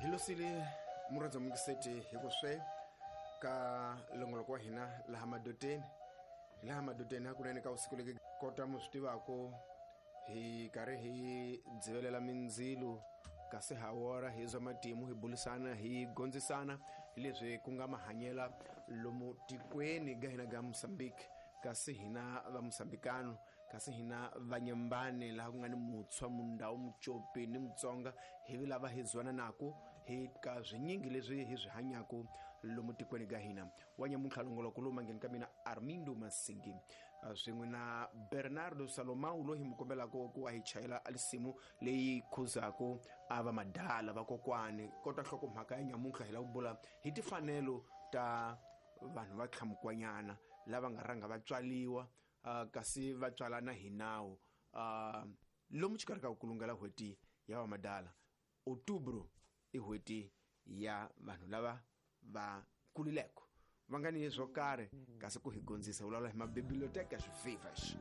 Hi losile murhandza mungiseti hi ku swe ka longoloko wa hina laha madoteni, hi laha madoteni hakunene ka vusiku leki kota mu swi tivaku hi karhi hi dzivelela mindzilo kasi ha wora hi zwa matimu hi bulisana hi gondzisana hi leswi ku nga mahanyela lomu tikweni ga hina ga Mozambique, kasi hina va Mozambikano, kasi hina vanyembane laha ku nga ni Mutshwa, Mundhawu, Mucopi ni Mutsonga, hi vi lava hi zwananaku hi ka swinyingi leswi hi swi hanyaku lomu tikweni ga hina. Wa nyamuntlha longoloko lowu mangheni ka mina Armindo Masingi swin'we na Bernardo Salomão loyi hi mu kombelaka ku a hi chayela alisimu leyi khuzaku a va madala vakokwani. Kota nhlokomhaka ya nyamuntlha hi lava ku bula hi timfanelo ta vanhu va tlhamukwanyana lava nga rhanga va tswaliwa kasi va tswalana hi nawu lomu xikarhi ka ku kulungela n'hweti ya vamadala. Outubro i n'hweti ya vanhu lava va kulileko va nga ni swo karhi kasi ku hi gondzisa vulavula hi mabiblioteka swivivas.